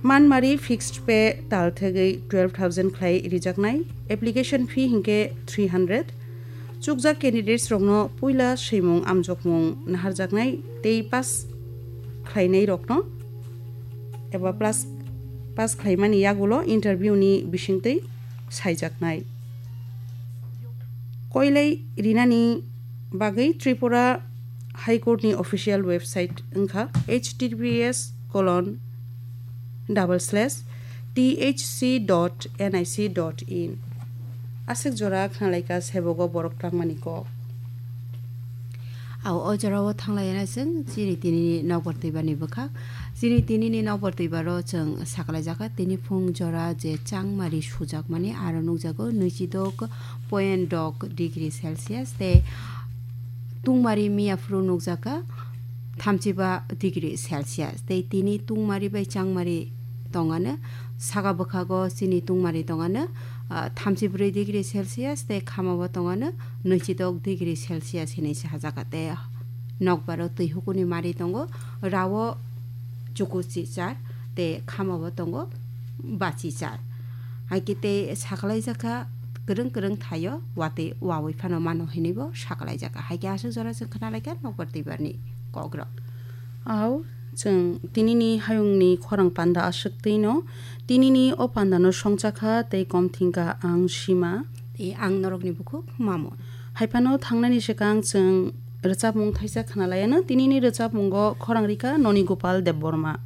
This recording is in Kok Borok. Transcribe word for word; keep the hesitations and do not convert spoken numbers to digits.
Manmari fixed pay tal thegwi twelve thousand khlai rijaknai, application fee hinkhe three hundred. Chukjak candidates rokno puila swimung amjokmung naharjaknai tei pass khlainai rokno eba plus pass khlaimani yagulo interview ni bisingtwi saijaknai. Koilai rinani bagwi Tripura High Court ni official website wngkha H T T P S colon double slash T H C dot N I C dot in. Aswk jora khnalaikha sebogo borok twlangmani kok. Ao o jorao thanglaiana chwng chini tinini nokbar twibani bwkhak. Chini tinini nokbar twibaro chwng sakalaijaka tini phung jora je changmari sujakmani aro nukjago nwichidok point dok degree Celsius tei tungmari miyaphuru nukjakha thamchiba degree Celsius tei tini tungmari bai changmari tongano saka bwkhago chini tungmari tongano, ah, thamchibrwi degree Celsius tei khamao tongano nwichidok degree Celsius hinwi sajakha tei nokbaro twi hukuni mari tongo, rao chukuchichar tei khamao tongo bachichar. Hai khe tei sakalaijak kha kwrwng kwrwng thaio watwi wawi phano mano hinwibo sakalaijak kha. Hai khe aswk jora chwng khna lai kha nokbar twibarni kokrok. Ao chwng tinini hayungni khorang panda aswk twino. Tinini o pandano songcha kha tei kom thing kha ang Sima. Tei ang norokni bukhuk Mamon. Hai phano thangnani swkang chwng rwchapmung thaisa khna laiano. Tinini rwchapmungo khorang rikha Noni Gopal Debbarma.